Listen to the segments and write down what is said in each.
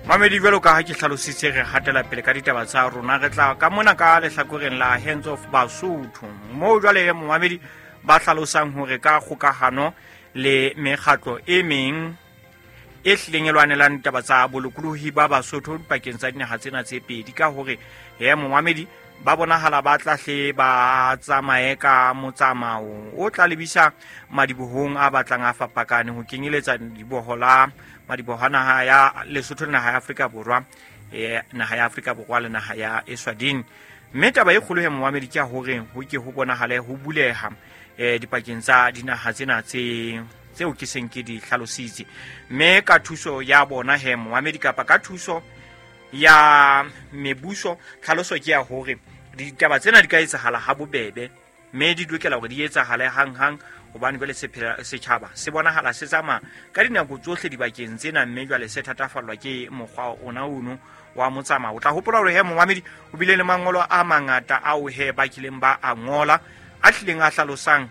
Mamedi, jwalo ka ha ke hlalositse, re hatela pele ka ditaba tsa rona. Re tla ka mona ka lehlakoreng la Hands of Basotho, moo jwale momamedi ba hlalosang hore ka kgokahano le mekgatlo e meng e hlileng e lwanelang ditaba tsa bolokolohi ba Basotho dipakeng tsa dinaha tsena tse pedi, ka hore he momamedi ba bonahala ba tla hle ba tsamaye ka motsamao o tla lebisa madibohong a batlang a fapakane, ho kenyeletsa diboho la madiboho a naha ya Lesotho le naha ya Afrika Borwa, naha ya Afrika Borwa le naha ya Eswatini. Mme taba e kgolo he momamedi ke ya hore ho ke ho bonahale ho buleha dipakeng tsa dinaha tsena tse tseo ke seng ke di hlalositse. Mme ka thuso ya bona he momamedi, kapa ka thuso ya mebuso, tlhaloso ke ya hore ditaba tsena di ka etsahala ha bobebe, mme di lokela hore di etsahale hang-hang, hobane jwale setjhaba se bonahala se tsamaya ka dinako tsohle dibakeng tsena, mme jwale se thatafallwa ke mokgwa ona ono wa motsamao. O tla hopola hore he momamedi o bile le mangolo a mangata ao he ba kileng ba a ngola, a hlileng a hlalosang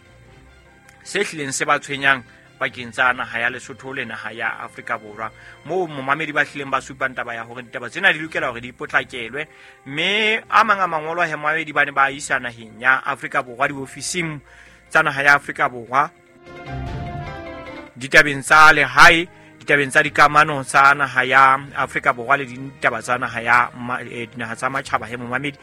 se hlileng se ba tshwenyang pakeng tsa naha ya Lesotho le naha ya Afrika Borwa, moo momamedi ba hlileng ba supang taba ya hore ditaba tsena di lokela hore di potlakelwe. Mme a mang a mangolo a he momamedi ba ne ba isa naheng ya Afrika Borwa, diofising tsa naha ya Afrika Borwa, ditabeng tsa lehae, ditabeng tsa dikamano tsa naha ya Afrika Borwa le ditaba tsa naha ya dinaha tsa matjhaba he momamedi.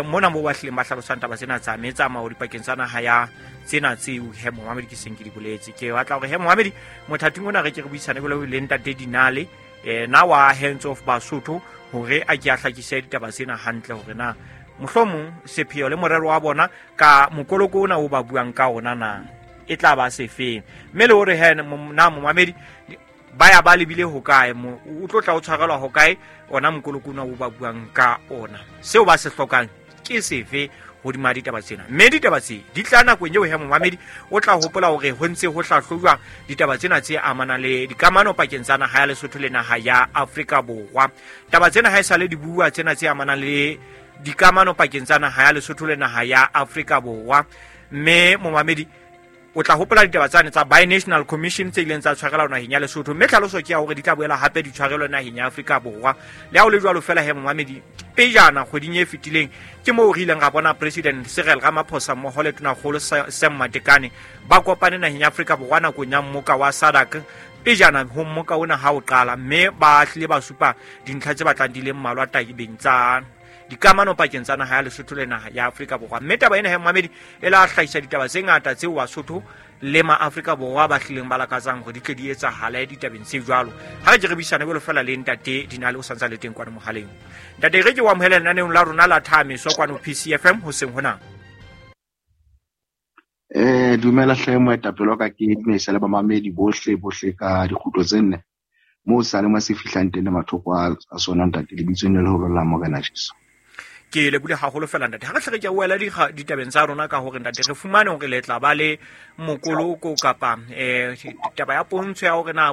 Mona moo ba hlileng ba hlalosang taba tsena tsa metsamao dipakeng tsa naha ya tsena tseo he momamedi ke seng ke di boletse. Ke batla hore he momamedi mothating ona re ke re buisane jwalo le ntate Dinale, na wa Hands of Basotho, hore a ke a hlakise ditaba tsena hantle, hore na mohlomong sepheo le morero wa bona ka mokoloko ona o ba buang ka ona na e tla ba sefeng, mme le hore he na momamedi ba ya ba lebile hokae, o tlo tla o tshwarelwa hokae ona mokoloko ona o ba buang ka ona, seo ba se hlokang ke sefe hodima ditaba tsena. Mme ditaba tse di tla nakong eo he momamedi o tla hopola hore ho ntse ho hlahlojwa ditaba tsena tse amanang le dikamano pakeng tsa naha ya Lesotho le naha ya Afrika Borwa. Taba tsena ha e sale di bua tsena tse amanang le dikamano pakeng tsa naha ya Lesotho le naha ya Afrika Borwa. Mme momamedi o tla hopola ditaba tsane tsa Binational Commission tse ileng tsa tshwarelwa naheng ya Lesotho, mme tlhaloso ke ya hore di tla boela hape di tshwarelwe naheng ya Afrika Borwa. Le ha ho le jwalo fela he momamedi, pejana kgweding e fetileng ke moo re ileng ra bona President Cyril Ramaphosa mmoho le Tonakgolo Sam Matekane ba kopane naheng ya Afrika Borwa nakong ya mmoka wa SADC, pejana ho mmoka ona ha o qala, mme ba hlile ba supa dintlha tse batlang di le mmalwa tabeng tsa dikamano pakeng tsa naha ya Lesotho le naha ya Afrika Borwa. Mme taba ena he momamedi e la hlahisa ditaba tse ngata tseo Basotho le ma Afrika Borwa ba hlileng ba lakatsang hore di tle di etsahale ditabeng tse jwalo. Ha re ke re buisane jwalo fela le ntate Dinale, o santsa le teng kwano mohaleng. Ntate, re ke o amohele lenaneong la rona la Thameso kwano PCFM hoseng hona. Dumela hle moetapele wa ka, ke dumedisa le bamamedi bohle bohle ka dikgutlo tse nne moo sa le mo se fihlang teng le mathoko a sona ntate, lebitsong le leholo la Morena Jesu. Ke lebohile haholo fela ntate. Ha re hle re ke wela ditabeng tsa rona ka hore ntate re fumane hore le tla ba le mokoloko kapa taba ya pontsho ya hore na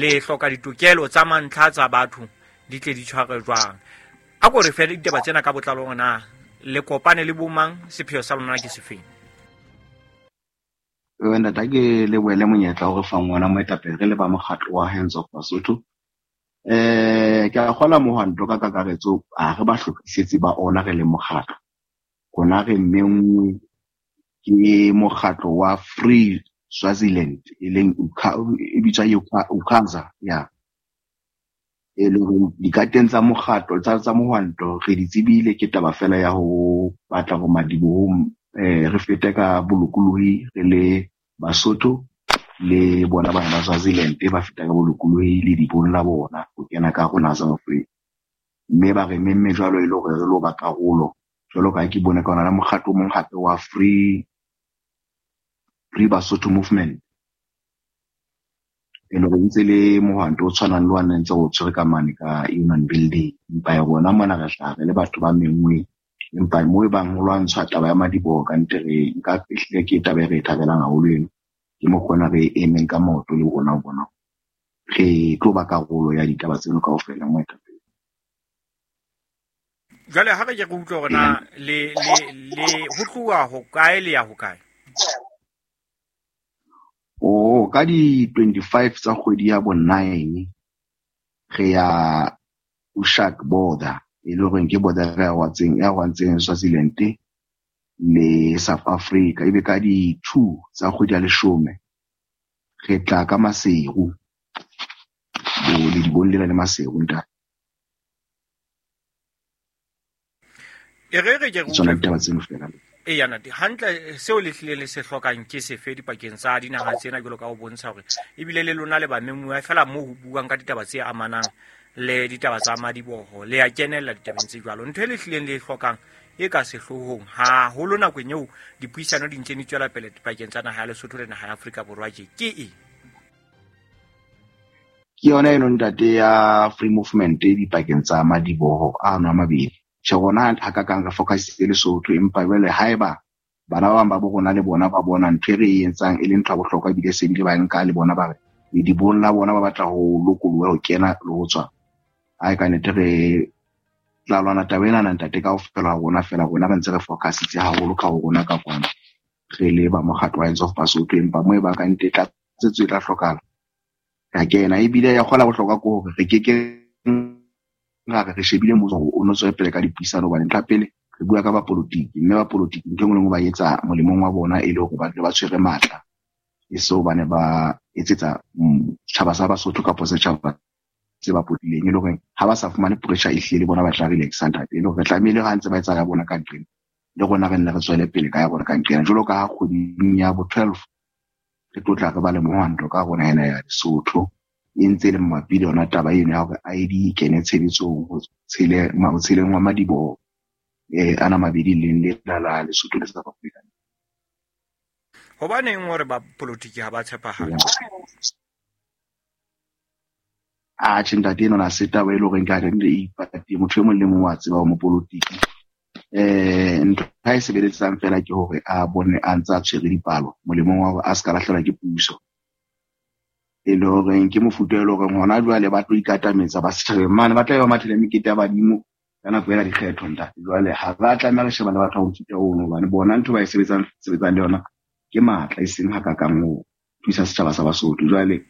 le hloka ditokelo tsa mantlha tsa batho di tle di tshwarwe jwang. A ko re fe ditaba tsena ka botlalo hore na le kopane le bomang, sepheo sa lona ke sefeng. Ntate, ke lebohele monyetla o re fang ona moetapele re le ba mokgatlo wa Hands of Basotho. Ke a kgola mohwanto ka kakaretso, ha re ba hlophisetse ba ona re le mokgatlo. Rona re menngwe ke mokgatlo wa Free Swaziland, e leng e bitswa Ukhaza, ya. E leng hore dikateng tsa mokgatlo, tsa mohwanto re di tsebile, ke taba fela ya ho batla hore madibohong re fete ka bolokolohi re le Basotho le bona bana ba Swaziland ba feta ka bolokolohi le dibong la bona ho kena ka rona South Africa. Mme ba re memme jwalo e le hore re lo ba karolo, jwalo ka ha ke bone ka ona le mokgatlo o mong hape wa Free Basotho Movement. E le hore ntse le mohwanto o tshwanang le wa nna ntse re o tshwere ka mane ka Union Building. Empa ya rona mona re hlaha re le batho ba menngweng, empa moo e bang ho lwantshwa taba ya madiboho ka ntle re nka ehlile ke taba e re e thabelang haholo eno. Ke mokgwa ona re emeng ka maoto le rona ho bona re tlo ba karolo ya ditaba tseno kaofela moetapele. Jwale ha re ke re utlwe hore na le ho tloha hokae le ya hokae? Oh, ka di 25 tsa kgwedi ya bo 9 Re ya Ushak border, e le horeng ke border e arohantseng Swaziland le South Africa. Ebe ka di-2 tsa kgwedi ya 10 re tla ka Maseru, bo le dibong lena le Maseru ntate. E re re ke re Tsona ditaba tseno fela. Eya ntate, hantle seo le hlile le se hlokang ke sefe dipakeng tsa dinaha tsena, jwalo ka ho bontsha hore ebile le lona le bamemuwa fela moo ho buang ka ditaba tse amanang le ditaba tsa madiboho, le ya kenella ditabeng tse jwalo. Ntho e le hlileng le e hlokang e ka sehloohong haholo nakong eo dipuisano di ntse di tswela pele dipakeng tsa naha ya Lesotho le naha ya Afrika Borwa tje ke eng? Ke yona eno ntate ya free movement dipakeng tsa madiboho ano a mabedi. Tjhe, rona ha ka kang re focusitse Lesotho, empa jwale haeba bana ba bang ba bo rona le bona ba bona ntho e re e etsang e le ntho ya bohlokwa, ebile se bile ba nka le bona ba re ledibong la bona ba batla ho lokoloha ho kena le ho tswa. Ai ka nnete re tla lwana taba ena ntate kaofela ha rona fela, rona re ntse re focusitse haholo ka ho rona ka kwana re le ba mokgatlo wa Hands Off Basotho, empa moo e bang ka nnete tlatsetso e tla hlokahala ra kena. Ebile ya kgola bohlokwa ke hore re keke ra re re shebile mmuso hore o no tswele pele ka dipuisano, hobane ntlha pele re bua ka bapolotiki, mme bapolotiki ntho e nngwe le nngwe ba etsa molemong wa bona e le hore ba dule ba tshwere matla, e se hobane ba etsetsa setjhaba sa Basotho kapa setjhaba se ba potileng, e le hore ha ba sa fumane pressure e hlile le bona ba tla relaxa ntate. E le hore re tlamehile ha ntse ba etsa ya bona ka nqena, le rona re nne re tswele pele ka ya bona ka nqena. Jwalo ka ha kgweding ya bo 12 re tlo tla re ba le mohwanto ka rona ena ya Lesotho, e ntse e le mabapi le yona taba eno ya hore ID e kene tshebetsong ho tsheleng wa madiboho ana mabedi leng lena la Lesotho le South Africa. Hobaneng hore ba politiki ha ba tshepahale? Atjhe ntate, eno na se taba e le horeng ka re e ipate, motho e mong le mong wa tseba ho mopolitiki. Ntho ha e sebeletsang fela ke hore a bone a ntse a tshwere dipalo molemong wa hore a ska lahlehelwa ke puso. E le horeng ke mofuta e le horeng hona jwale ba tlo ikatametsa ba setjhabeng mane, ba tla be ba mathele mekete ya badimo ka nako ena dikgetho ntate. Jwale ha ba tlameha re shebane le batho ba mofuta ono, hobane bona ntho ba e sebetsang le yona ke matla, e seng hakakang ho thusa setjhaba sa Basotho. Jwale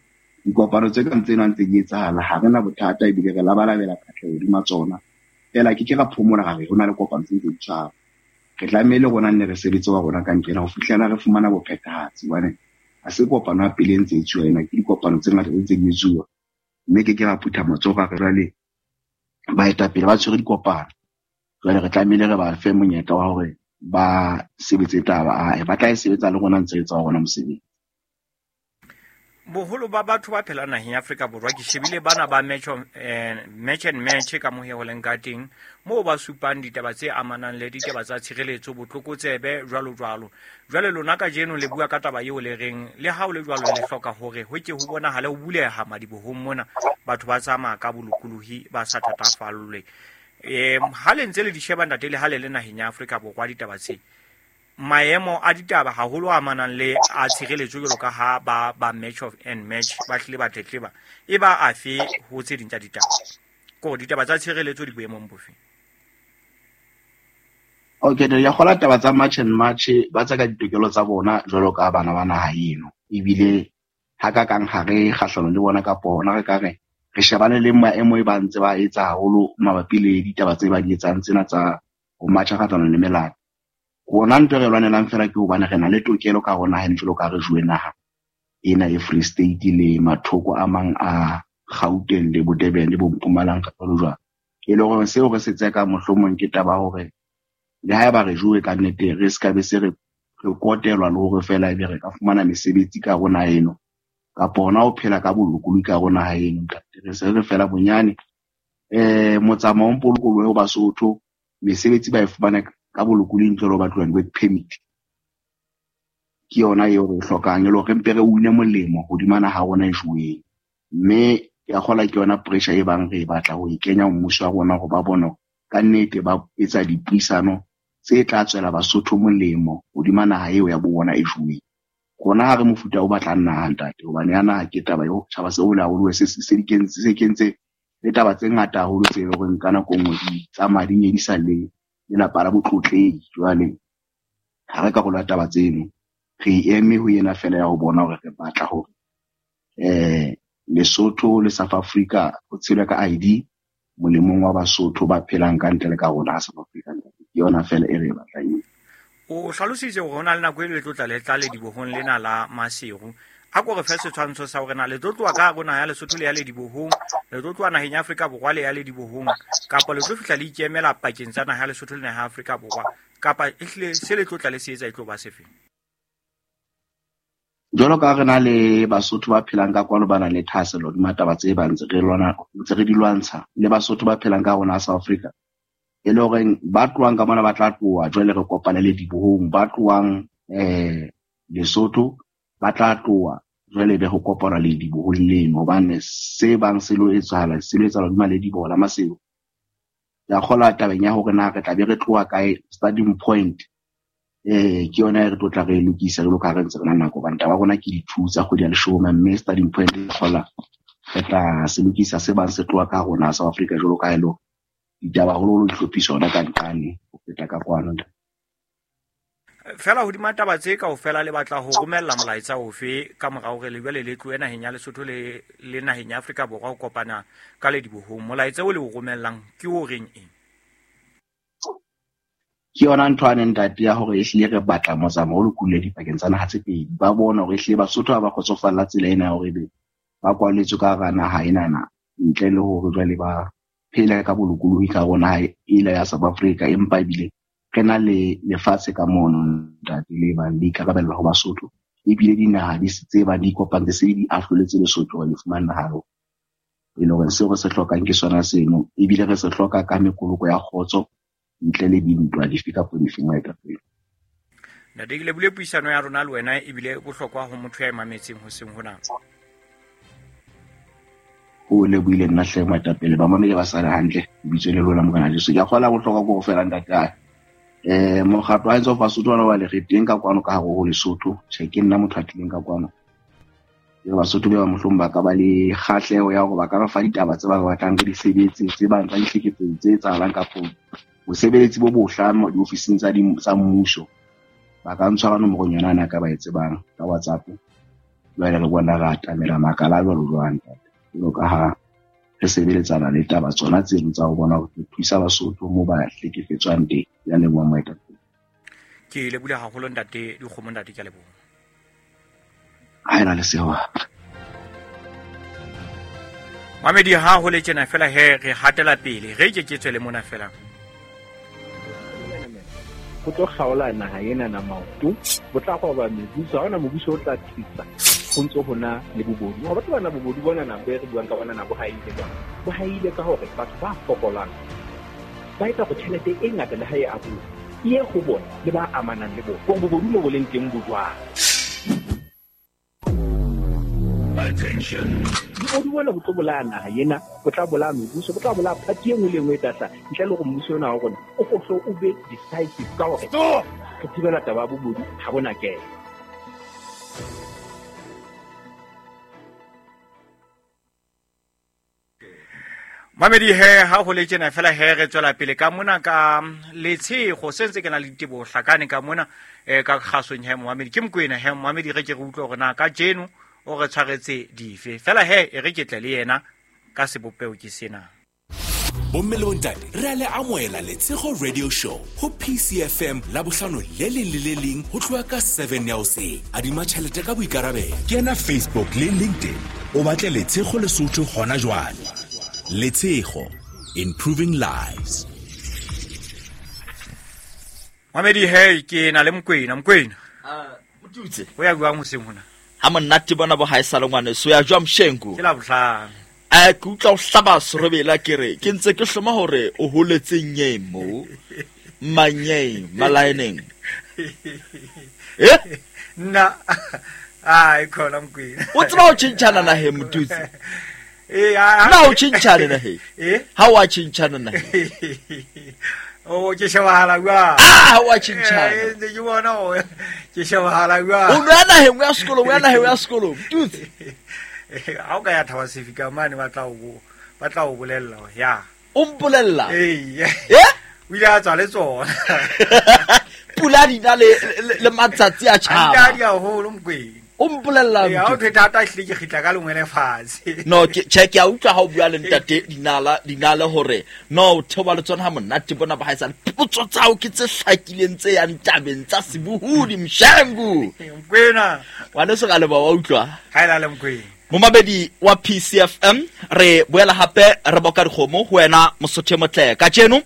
dikopano tse kang tsena ntse di etsahala, ha re na bothata, ebile re labalabela katleho hodima tsona. Fela ke ke ra phomola ra re ho na le kopano tse ntse di tshwara. Re tlamehile rona nne re sebetse wa rona ka nqena ho fihlela re fumana bophethahatsi, hobane ha se kopano ya pele e ntse e tsuwa ena, ke dikopano tse ngata tse ntse di etsuwa. Mme ke ke ra phutha matsoho ra re jwale baetapele ba tshwere dikopano, jwale re tlamehile re ba fe monyetla wa hore ba sebetse taba, ba tla e sebetsa le rona ntse re etsa wa rona mosebetsi. Boholo ba batho ba phelang naheng ya Afrika Borwa, ke shebile bana ba match and match ka mohe ho leng ka teng, moo ba supang ditaba tse amanang le ditaba tsa tshireletso, botlokotsebe, jwalo jwalo. Jwale lona kajeno le bua ka taba eo le reng le ha o le jwalo le hloka hore ho ke ho bonahale ho buleha madibohong mona, batho ba tsamaya ka bolokolohi ba sa thatafallwe. Ha le ntse le di sheba ntate, le ha le le naheng ya Afrika Borwa ditaba tse, maemo a ditaba haholo a amanang le a tshireletso jwalo ka ha ba match of and match ba hlile ba tletleba, e ba afe ho tse ding tsa ditaba? Ko ditaba tsa tshireletso di boemong bofe? Okay, ya kgola taba tsa match and match ba tsa ka ditokelo tsa bona jwalo ka bana ba naha eno, ebile ha ka kang ha re kgahlanong le bona kapa hona re ka re re shebane le maemo e ba ntse ba etsa haholo mabapi le ditaba tse ba di etsang tsena tsa ho matcha kgahlanong le melato. Rona ntho e re lwanelang fela ke hobane re na le tokelo ka hona ha jwalo ka re jowe naha ena e Free State le mathoko a mang a Gauteng le bo Durban le bo Mpumalanga jwalo jwalo. E le hore seo re se tseka mohlomong ke taba hore le haeba re jowe ka nnete re ska be se re kotelwa le hore fela ebe re ka fumana mesebetsi ka rona eno, kapa hona ho phela ka bolokolohi ka rona ha eno. Ntate, re se re fela bonyane motsamao o mpolokolohe ho Basotho, mesebetsi ba e fumana ka bolokolohi ntle le ho batluwa di-work permit. Ke yona eo re e hlokang, e le hore re mpe re une molemo hodima naha ya rona e joweng. Mme ke a kgolwa ke yona pressure e bang re e batla ho e kenya mmuso wa rona hore ba bone hore ka nnete ba etsa dipuisano tse tla tswela Basotho molemo hodima naha eo ya bo bona e joweng. Rona ha re mofuta o batlang naha ntate, hobane ya naha ke taba eo tjhaba se hole haholo, se kentse le taba tse ngata haholo tse leng hore ka nako e nngwe di tsamaya di nyedisa le lelapa la botlotlehi. Jwale ha re karolo ya taba tseno, re eme ho ena fela ya ho bona hore re batla hore Lesotho le South Africa ho tshelwe ka ID molemong wa Basotho ba phelang ka ntle le ka rona South Africa. Ke yona fela e re e batlang eo. O hlalositse hore ho na le nako e le tlo tla le tla ledibohong lena la Maseru. A ko re fe setshwantsho sa hore na le tlo tloha ka hare ho naha ya Lesotho le ya ledibohong, le tlo tloha naheng ya Afrika Borwa le ya ledibohong, kapa le tlo fihla le ikemela pakeng tsa naha ya Lesotho le naha ya Afrika Borwa, kapa ehlile se le tlo tla le se etsa e tlo ba sefeng? Jwalo ka re na le Basotho ba phelang ka kwano ba nang le thahasello hodima taba tse bang ntse re lwana, ntse re di lwantsha, le Basotho ba phelang ka rona South Africa, e le horeng ba tlohang ka mona ba tla tloha jwale re kopane le dibohong, ba tlohang Lesotho ba tla tloha jwale be ho kopana le dibohong leno, hobane se bang se lo etsahala, se lo etsahala hodima le diboho la Maseru. Ke a kgolwa tabeng ya hore na re tla be re tloha kae, starting point ke yona e re tlo tla re lokisa jwalo ka ha re ntse re na nako, hobane taba ya rona ke di-2 tsa kgwedi ya leshome, mme starting point ke kgola re tla se lokisa se bang se tloha ka rona South Africa jwalo ka ha e le hore ditaba haholoholo di hlophiswa hona ka nqane ho feta ka kwano. Fela hodima taba tse kaofela le batla ho romella molaetsa ofe ka mora hore le jwale le tlohe naheng ya Lesotho le naheng ya Afrika Borwa ho kopana ka ledibohong? Molaetsa o le o romellang ke o reng eng? Ke yona ntho ane ntate ya hore ehlile re batla motsamao o lokolohile dipakeng tsa naha tse pedi. Ba bona hore ehlile Basotho ha ba kgotsofalla tsela ena ya hore ebe ba kwalletswe ka hara naha enana ntle le hore jwale ba phele ka bolokolohi ka hare ho naha ela ya South Africa, empa ebile re na le lefatshe ka mono ntate le bang le ikarabella ho Basotho, ebile dinaha di tse bang di ikopantse se di ahloletse Lesotho hore le fumane naha eo. E le hore seo re se hlokang ke sona seno, ebile re se hloka ka mekoloko ya kgotso ntle le dintwa dife kapa dife moetapele. Ntate, ke lebohile puisano ya rona le wena, ebile bohlokwa ho motho ya e mametseng hoseng hona. O lebohile nna hle moetapele, ba mamele ba sale hantle, lebitso le lona Morena Jesu. Ke a kgolwa bohlokwa ke ho fela ntate. Mokgatlo wa Hands Off Basotho ona wa le re teng ka kwano ka hare ho Lesotho. Tjhe, ke nna motho a tlileng ka kwano. Ke re Basotho ba mohlomong ba ka ba le kgahleho ya hore ba ka re fa ditaba tse ba batlang re di sebetse, tse bang tsa ditlhekefetso tse etsahalang kapo bosebeletsi bo bohla diofising tsa mmuso. Ba ka ntshwara nomorong yona ana ka ba e tsebang ka WhatsApp. Jwale re bona re atamela makala jwalo jwang ntate. Jwalo ka ha re sebeletsana le taba tsona tseno tsa ho bona hore re thusa Basotho moo ba hlekefetswang teng. Ya leboha moetapele. Ke lebohile haholo ntate Dikgomo, ntate ke a leboha. Ha ena le sewa. Mamedi ha ho le tjena fela he re hatela pele, re ke ke tswele mona fela. Ho tlo kgaola naha ena na maoto, bo tla roba mebuso, ha hona mobuso o tla thusa. Ho ntso ho na le bobodu. Ha batho bana bobodu bona na be re buang ka bona na bo haile jwang. Bo haile ka hore batho ba fokolang ba etsa hore tjhelete e ngata le ha e abuwa e ye ho bona le ba amanang le bona. Hore bobodu mo bo leng teng bo jwang. Attention. Bobodu bona bo tlo bolaya naha ena, bo tla bolaya mebuso, bo tla bolaya party e nngwe le e nngwe e tla hlaha. Ntle le hore mmuso ona wa rona o ko hlo o be decisive ka hore Stop! re thibela taba ya bobodu ha bona kena. Mamedi he ha ho le tjena fela he re tswela pele ka mona ka letshego se ntse ke na le diteboho hlakane ka mona ka kgasong he momamedi ke Mokoena he momamedi re ke re utlwe hore na ka jeno o re tshwaretse dife fela he e re ke tle le yena ka sebopeho ke sena. Bomme le bontate, re a le amohela Letshego Radio Show ho PCFM la bohlano le leng le le leng ho tloha ka 7 ya hoseng. Adima tjhelete ka boikarabelo. Kena Facebook le LinkedIn o batle Letshego Lesotho hona jwale. Letshego, improving lives. Mamedi he ke na le Mokoena, Mokoena. Motutse. O ya jwang hoseng hona? Ha monate bona bo haesale ngwaneso, ya jwang Mshengu? Ke la bohlano. Ke utlwa o hlaba serobela ke re, ke ntse ke hloma hore o holetse nyeng mo. Manyeng, malaeneng. Eh? Nna, ai, khona Mokoena. O tseba ho tjhentjhana naheng, Motutse? Eh, a, a, Na o tjhentjhane naheng? Eh? Ha o a tjhentjhana naheng? O, ke shebahala jwang? Ah, ha o a tjhentjhana. Eh, ntse ke bona hore ke shebahala jwang. O no ya naheng, o ya sekolong, o ya naheng, o ya sekolong. Motutse. Eh, ha o ka ya Thaba Sefika mane, ba tla o bolella hore ya. O mpolella? Ee. Eh? O ile a tswa le tsona. Pula di na le matsatsi a tjhaba. Antadi haholo Mokoena. O mpolella ha o thata hle ke khitla ka lengwe le fatshe. No ke che ke a utlwa ha o bua le ntate dinala hore no o theoba le tsona ha monate bona ba haesale. Potso tsa hao ke tse hlakileng tse yang tabeng tsa sebohodi Mshengu. Mkwena. Ngwaneso ka leboha wa utlwa. Ha ela le Mkwena. Momamedi wa PCFM re boela hape re boka dikgomo ho wena Mosotho motle. Kajeno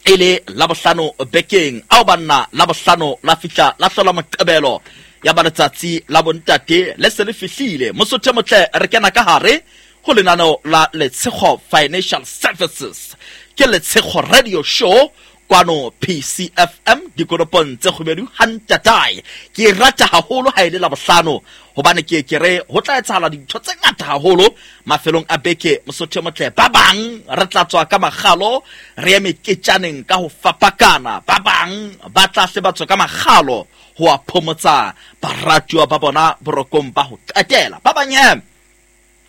e le Labohlano bekeng ao banna Labohlano la fihla la hlola Moqebelo ya ba letsatsi la bontate le se le fihlile. Mosotho motle re kena ka hare ho lenaneo la Letshego Financial Services. Ke Letshego Radio Show kwano PCFM dikoropong tse kgubedu hantatae. Ke rata haholo ha ile Labohlano hobane ke re ho tla etsahala dintho tse ngata haholo mafelong a beke. Mosotho motle ba bang re tla tswa ka makgalo re ye meketjaneng ka ho fapakana, ba bang ba tla hle ba tswa ka makgalo ho a phomotsa baratuwa ba bona borokong ba ho qetela. Ba bang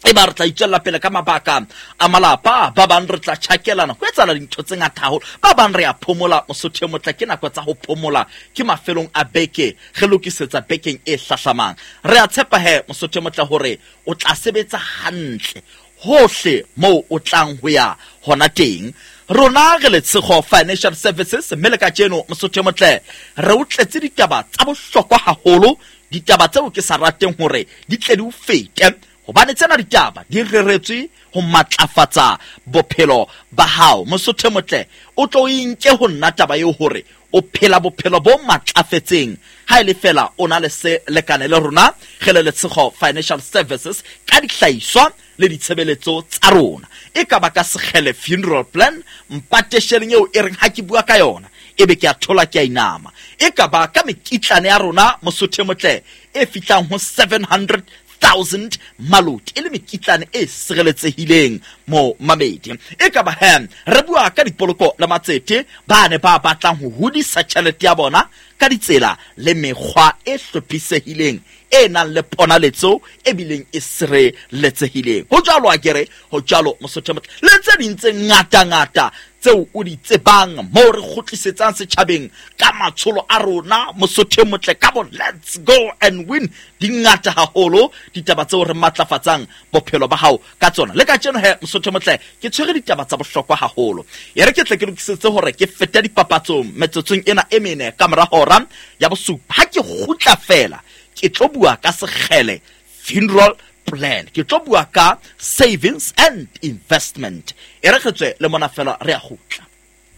e ba re tla itswella pele ka mabaka a malapa, ba bang re tla tjhakelana ho etsahala dintho tse ngata haholo, ba bang re a phomola. Mosotho motle ke nako tsa ho phomola, ke mafelong a beke re lokisetsa bekeng e hlahlamang. Re a tshepa he Mosotho motle hore o tla sebetsa hantle hohle moo o tlang ho ya hona teng. Rona re Letshego Financial Services mme le kajeno Mosotho motle re o tletse ditaba tsa bohlokwa haholo, ditaba tseo ke sa rateng hore di tle di o fete, hobane tsena ditaba di reretswe ho matlafatsa bophelo ba hao. Mosotho motle o tlo inke ho nna taba eo hore o phela bophelo bo matlafetseng ha e le fela o na le se lekane le rona re le Letshego Financial Services ka dihlahiswa le ditshebeletso tsa rona. E ka ba ka Sekgele Funeral Plan, mpatesheleng eo e reng ha ke bua ka yona ebe ke a thola ke a inama. E ka ba ka mekitlane ya rona Mosotho motle e fihlang ho 700,000 maloti e le mekitlane e sireletsehileng mo mamedi. E ka ba he re bua ka dipoloko le matsete ba ne ba batlang ho hodisa tjhelete ya bona ka ditsela le mekgwa e hlophisehileng e nang le ponaletso e bileng e sireletsehileng. Ho jwalo akere, ho jwalo Mosotho motle le tse ding tse ngata-ngata tseo o di tsebang moo re kgutlisetsang setjhabeng ka matsholo a rona Mosotho motle ka bo Let's Go and Win. Di ngata haholo ditaba tseo re matlafatsang bophelo ba hao ka tsona. Le kajeno he Mosotho motle ke tshwere ditaba tsa bohlokwa haholo. E re ke tle ke lokisetse hore ke fete dipapatsong metsotsong ena e mene ka mora hora ya bosupa. Ha ke kgutla fela ke tlo bua ka Sekgele Funeral Plan, ke tlo bua ka savings and investment. E re tswe le mona fela re a kgutla.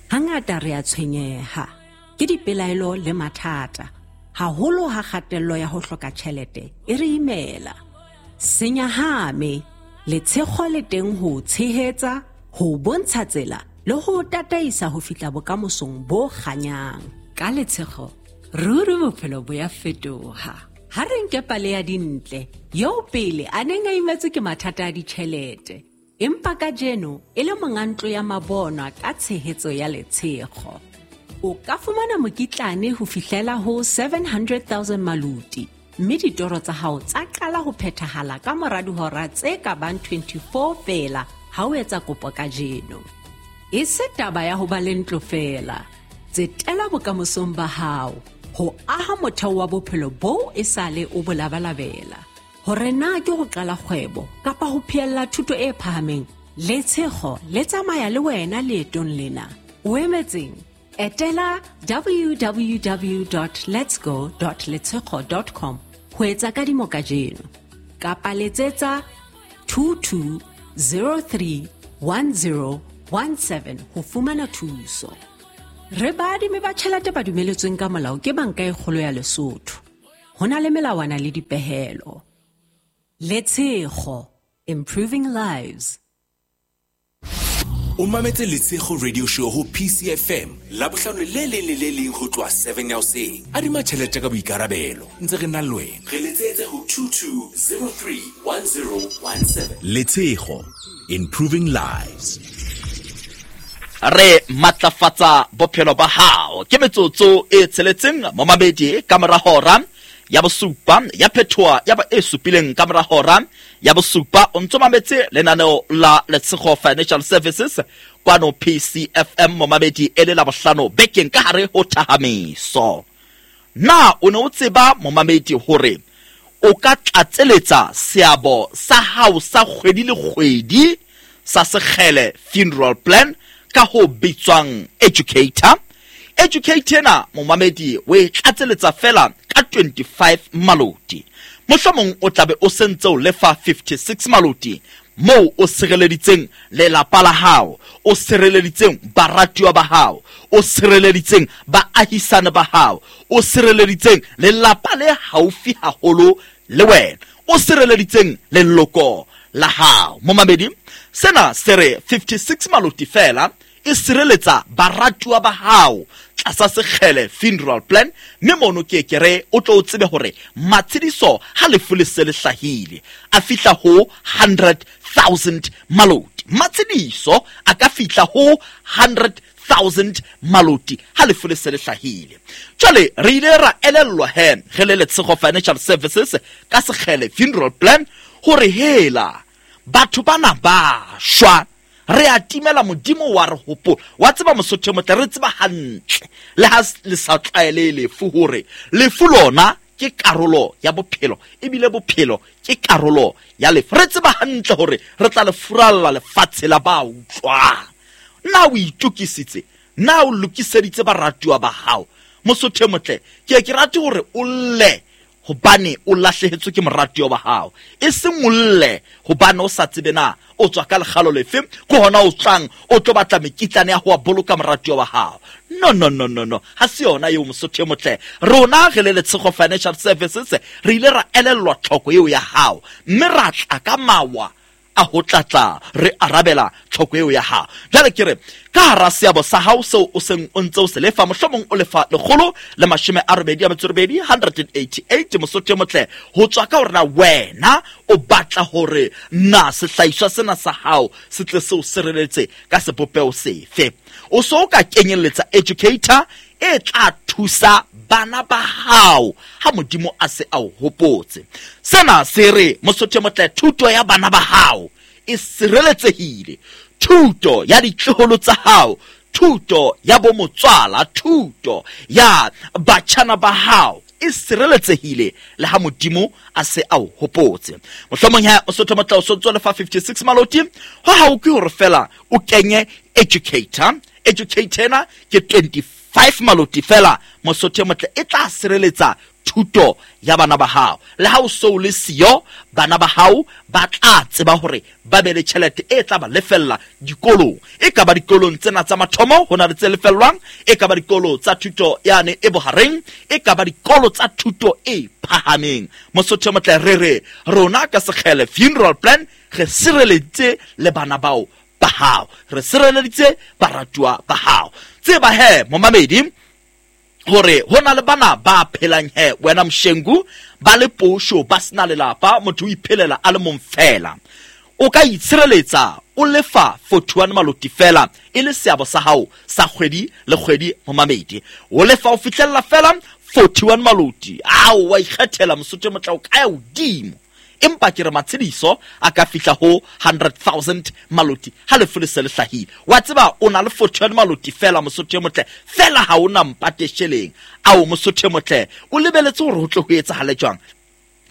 Hangata re a tshwenyeha ke dipelaelo le mathata, haholo ha kgatello ya ho hloka tjhelete e re imela. Senyahame, Letshego le teng ho tshehetsa, ho bontsha tsela le ho tataisa ho fihla bokamosong bo kganyang. Ka Letshego ruri bophelo bo ya fetoha. Ha re nke pale ya Dintle eo pele a neng a imetswe ke mathata a ditjhelete, empa kajeno e le monga ntlo ya mabonwa ka tshehetso ya Letshego. O ka fumana mokitlane ho fihlela ho 700,000 maluti, mme ditoro tsa hao tsa qala ho phethahala ka mora dihora tse ka bang 24 feela ha o etsa kopo kajeno. E se taba ya ho ba le ntlo feela, tsetela bokamosong ba hao ho aha motheo wa bophelo boo e sale o bo labalabela. Hore na ke ho qala kgwebo kapa ho phehella thuto e phahameng, Letshego le tsamaya le wena leetong lena. O emetseng? Etela www.letsgo.letshego.com ho etsa kadimo kajeno, kapa letsetsa 22031017 ho fumana thuso. Re baadimi ba tjhelete ba dumeletsweng ka molao ke Banka e Kgolo ya Lesotho. Ho na le melawana le dipehelo. Letshego, improving lives. O mametse Letshego Radio Show ho PCFM Labohlano le leng le le leng ho tloha 7 ya hoseng. Adima tjhelete ka boikarabelo ntse re na le wena. Re letsetse ho 22031017. Letshego, improving lives. Re matlafatsa bophelo ba hao. Ke metsotso e tsheletseng momamedi ka mora hora ya bosupa ya phethoa ya ba e supileng ka mora hora ya bosupa. O ntso mametse lenaneo la Letshego Financial Services kwano PCFM momamedi e le Labohlano bekeng ka hare ho Thahamiso. Na o ne o tseba momamedi hore O ka tlatseletsa seabo sa hao sa kgwedi le kgwedi sa Sekgele Funeral Plan ka ho bitswang Educator. Educator ena, momamedi, o e tlatseletsa fela ka 25 maloti. Mohlomong o tlabe o sentse o lefa 56 maloti moo o sireleditseng lelapa la hao, o sireleditseng baratuwa ba hao, o sireleditseng baahisane ba hao, o sireleditseng lelapa le haufi haholo le wena, o sireleditseng leloko la hao. Momamedi, sena se re 56 maloti fela e sireletsa baratuwa ba hao tlasa Sekgele Funeral Plan, mme mono ke ke re o tlo o tsebe hore matshediso ha lefu le se le hlahile a fihla ho 100,000 maloti. Matshediso a ka fihla ho 100,000 maloti ha lefu le se le hlahile. Jwale re ile ra elellwa he re le Letshego Financial Services ka Sekgele Funeral Plan hore hela batho bana ba shwa, re a timela, Modimo wa re hopola. Wa tseba Mosotho motle, re tseba hantle le ha le sa tlwaele lefu hore lefu lona ke karolo ya bophelo, ebile bophelo ke karolo ya lefu. Re tseba hantle hore re tla le furalla lefatshe la ba utlwang. Na o itokisitse? Na o lokiseditse baratuwa ba hao? Mosotho motle, ke ke rate hore o lle hobane o lahlehetswe ke moratuwa wa hao, e seng o lle hobane o sa tsebe na o tswa ka lekgalo lefe, ke hona o tlang o tlo batla mekitlane ya ho wa boloka moratuwa wa hao. No, no, no, no, no, ha se yona eo, Mosotho e motle. Rona re le Letshego Financial Services re ile ra elellwa tlhoko eo ya hao, mme ra tla ka mawa a ho tlatla re arabela tlhoko eo ya hao. Jwale ke re ka hara seabo sa hao seo o seng o ntse o se lefa, mohlomong o lefa 188, 188, Mosotho e motle, ho tswa ka hore na wena o batla hore na sehlahiswa sena sa hao se tle se o sireletse ka sebopeho sefe. O so o ka kenyelletsa Educator e tla thusa bana ba hao ha Modimo a se a o hopotse. Sena se re, Mosotho motle, thuto ya bana ba hao e sireletsehile, thuto ya ditloholo tsa hao, thuto ya bo motswala, thuto ya batjhana ba hao e sireletsehile le ha Modimo a se a o hopotse. Mohlomong ha Mosotho motle o sontso lefa 56 maloti, ho hao ke hore fela o kenye Educator. Educator ena ke 25 maloti fela, Mosotho motle, e tla sireletsa thuto ya bana ba hao. Le ha o so le siyo, bana ba hao ba tla tseba hore ba be le tjhelete e tla ba lefella dikolong. E ka ba dikolong tsena tsa mathomo, ho na le tse lefellwang, e ka ba dikolo tsa thuto yane e bohareng, e ka ba dikolo tsa thuto e phahameng. Mosotho motle, re re rona ka Sekgele Funeral Plan re sireleditse le bana bao ba hao, re sireleditse baratuwa ba hao. Tseba he momamedi hore ho na le bana ba phelang he wena mshengu, ba le posho, ba sena lelapa, motho o iphelela a le mong fela. O ka itshireletsa o lefa 41 maloti fela e le seabo sa hao sa kgwedi le kgwedi, momamedi. O lefa o fihlella fela 41 maloti. Ao, wa ikgethela, Mosotho motle, o ka ya hodimo. Empa ke re matshediso a ka fihla ho 100,000 maloti ha lefu le se le hlahile. Wa tseba o na le 41 maloti fela, Mosotho motle, fela ha o na mpate sheleng. Ao, Mosotho motle, o lebeletse hore ho tle ho etsahale jwang?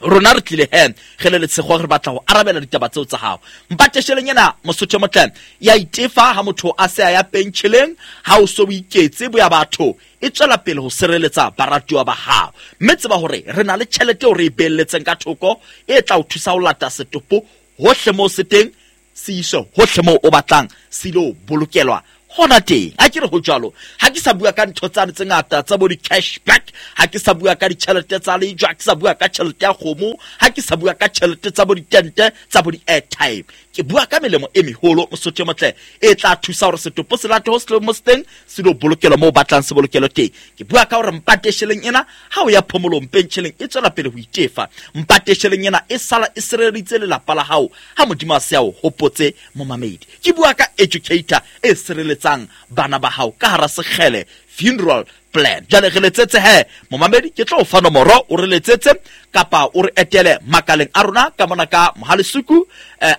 Rona re tlile he re le Letshego, re batla ho arabela ditaba tseo tsa hao. Mpate sheleng ena, Mosotho motle, ya itefa ha motho a se a ya pentjheleng, ha o so o iketse boya batho, e tswela pele ho sireletsa baratuwa ba hao. Mme tseba hore re na le tjhelete eo re e beelletseng ka thoko e tla o thusa ho lata setopo hohle moo se teng, se iswe hohle moo o batlang, se ilo bolokelwa hona teng. Ha ke re ho jwalo, ha ke sa bua ka ntho tsane tse ngata tsa bo di-cashback, ha ke sa bua ka ditjhelete tsa lejwa, ha ke sa bua ka tjhelete ya kgomo, ha ke sa bua ka tjhelete tsa bo ditente, tsa bo di-airtime. Ke bua ka melemo e meholo, Mosotho e motle, e tla thusa hore setopo se late ho se mo se teng, se lo bolokelwa moo o batlang se bolokelwe teng. Ke bua ka hore mpate sheleng ena ha o ya phomolong pentjheleng e tswela pele ho itefa. Mpate sheleng ena e sala e sireleditse lelapa la hao ha Modimo a se a o hopotse, momamedi. Ke bua ka Educator e sireletsang bana ba hao ka hara Sekgele Funeral Plan. Jwale re letsetse he momamedi, ke tlo o fa nomoro, o re letsetse kapa o re etele makaleng a rona ka mona ka Mohalesuku,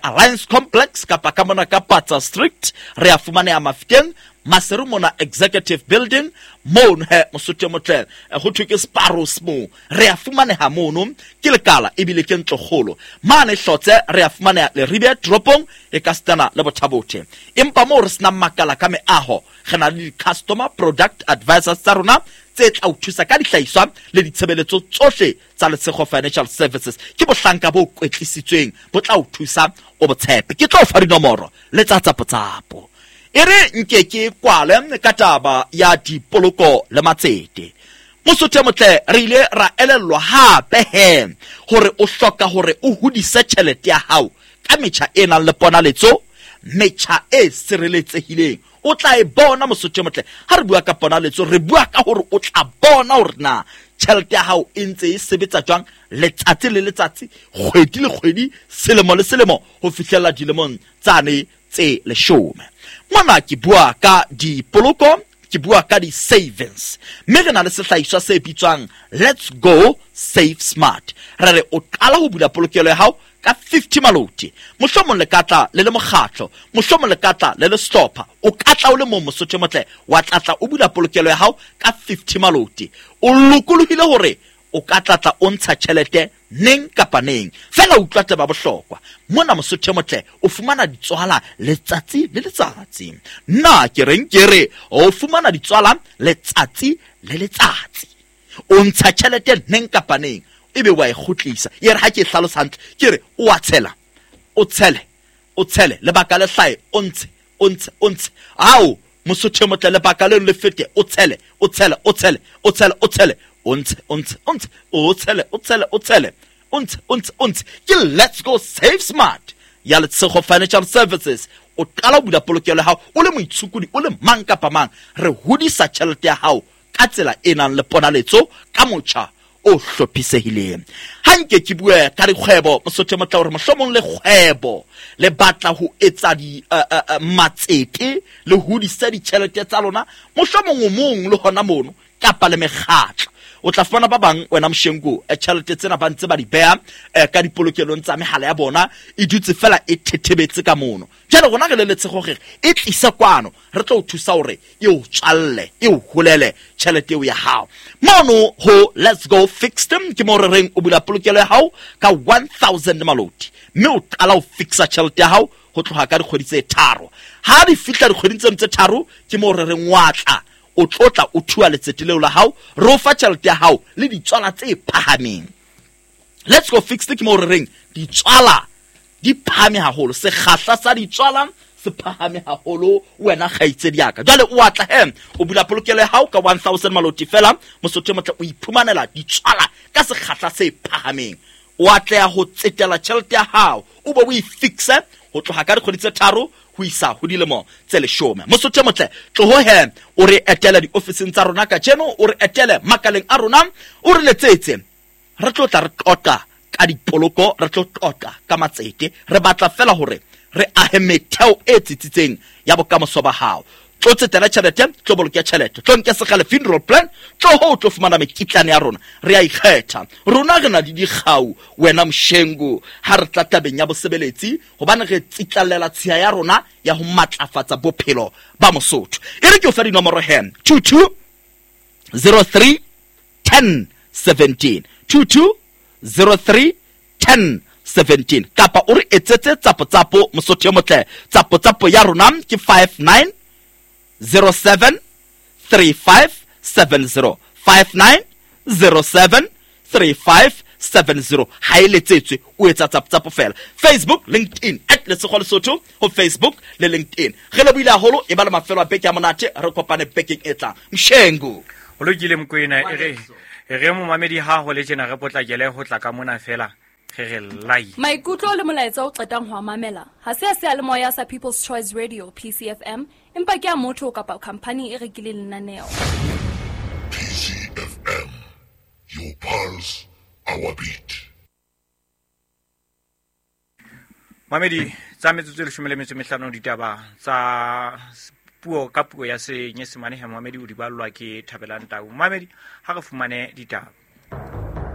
Alliance Complex kapa ka mona ka Patsa Street. Re a fumaneha Mafikeng, Maseru mona Executive Building mono he Mosotho motle, ho thwe ke Sparrows moo. Re a fumaneha mono, ke lekala ebile ke ntlokgolo. Mane Hlotse re a fumaneha Leribe toropong e ka sitana le Bothabothe. Empa moo re senang makala ka meaho, re na le di-customer product advisors tsa rona tse tla o thusa ka dihlahiswa le ditshebeletso tsohle tsa Letshego Financial Services. Ke bohlanka bo kwetlisitsweng bo tla o thusa o botshepe. Ke tlo o fa dinomoro le tsa tsapotsapo. E re nke ke kwale ka taba ya dipoloko le matsete. Mosotho motle, re ile ra elellwa hape he hore o hloka hore o hodise tjhelete ya hao ka metjha e nang le ponaletso, metjha e sireletsehileng. O tla e bona Mosotho motle. Ha re bua ka ponaletso, re bua ka hore o tla bona hore na tjhelete ya hao e ntse e sebetsa jwang letsatsi le letsatsi, kgwedi le kgwedi, selemo le selemo, ho fihlella dilemong tsane tse 10. Mona ke bua ka dipoloko, ke bua ka di-savings. Mme re na le sehlahiswa se bitswang Let's Go Save Smart. Re re o qala ho bula polokelo ya hao ka 50 maloti. Mohlomong le ka tla le le mokgatlo, mohlomong le ka tla le le sehlopha. O ka tla o le mong Mosotho motle, wa tla o bula polokelo ya hao ka 50 maloti. O lokolohile hore o ka tla o ntsha tjhelete neng kapa neng. Fela utlwa taba bohlokwa. Mona Mosotho motle o fumana ditswala letsatsi le letsatsi. Nna ke reng ke re o fumana ditswala letsatsi le letsatsi. O ntsha tjhelete neng kapa neng, ebe wa e kgutlisa. E re ha ke hlalosa hantle, ke re o a tshela, o tshele, o tshele, lebaka le hlahe, o ntshe, o ntshe, o ntshe. Ao Mosotho motle, lebaka leno le fete, o tshele, o tshele, o tshele, o tshele, o tshele, o ntshe, o ntshe, o ntshe, o tshele, o tshele, o tshele, o ntshe, o ntshe, o ntshe. Ke Let's Go Save Smart ya Letshego Financial Services. O qala ho bula polokelo ya hao o le moitshokodi, o le mang kapa mang. Re hodisa tjhelete ya hao ka tsela e nang le ponaletso, ka motjha o hlophisehileng. Ha nke ke bue ka dikgwebo Mosotho motle, hore mohlomong le kgwebo le batla ho etsa di matsete le hodise ditjhelete tsa lona, mohlomong o mong le hona mono kapa le mekgatlo. O tla fumana ba bang wena Moshenko, tjhelete tsena ba ntse ba di beha ka dipolokelong tsa mehala ya bona, e dutse fela e thethebetse ka mono. Jwale rona re le Letshego re e tlise kwano, re tlo o thusa hore e o tswalle, e o holele tjhelete eo ya hao. Mono ho Let's Go Fixed ke mo re reng o bula polokelo ya hao ka 1000 maloti, mme o qala ho fixa tjhelete ya hao ho tloha ka dikgwedi tse 3. Ha di fihla dikgweding tseno tse 3, ke mo re reng wa tla o tlotla o thua letsete leo la hao, re o fa tjhelete ya hao le ditswala tse phahameng. Let's Go Fixed ke mo re reng ditswala di phahame haholo, sekgahla sa ditswala se phahame haholo wena kgaitsedi ya ka. Jwale o atla he o bula polokelo ya hao ka 1000 maloti fela, Mosotho motle o iphumanela ditswala ka sekgahla se phahameng. O atleha ho tsetela tjhelete ya hao, o be o e fixe ho tloha ka dikgwedi tse 3 ho isa ho dilemo tse 10. Mosotho motle, tloho he o re etele diofising tsa rona kajeno, o re etele makaleng a rona, o re letsetse. Re tlo tla re qoqa ka dipoloko, re tlo qoqa ka matsete. Re batla fela hore re ahe metheo e tsitsitseng ya bokamoso ba hao. Tlo tsetela tjhelete, tlo boloke tjhelete, tlo nke sekgale funeral plan, tlo ho tlo fumana mekitlane ya rona. Re a ikgetha. Rona re na le dikgau wena Moshengo ha re tla tabeng ya bosebeletsi, hobane re tsitlallela tshiya ya rona ya ho matlafatsa bophelo ba Mosotho. E re ke o fe dinomoro he, 22 03 10 17, 22 03 10 17, kapa o re etsetse tsapotsapo Mosotho motle. Tsapotsapo ya rona ke 59 07 35 70, 59 07 35 70. Ha e letsetswe o etsa tsapotsapo fela. Facebook, LinkedIn, at Letshego Lesotho ho Facebook le LinkedIn. Re lebohile haholo, e ba le mafelo a beke ya monate, re kopane bekeng e tlang. Mshengu. Ho lokile Mokoena, e re momamedi ha ho le tjena re potlakele ho tla ka mona fela. Re re lai. Maikutlo le molaetsa o qetang ho a mamela ha se a seyalemoya sa People's Choice Radio PCFM, empa ke a motho kapa khampani e rekileng lenaneo. PCFM, your pulse, our beat. Mamedi tsa metsotso e 15 ditaba tsa Dipuo ka puo ya Senyesemane he momamedi, o di ballwa ke Thabelang Tau. Momamedi, ha re fumane ditaba.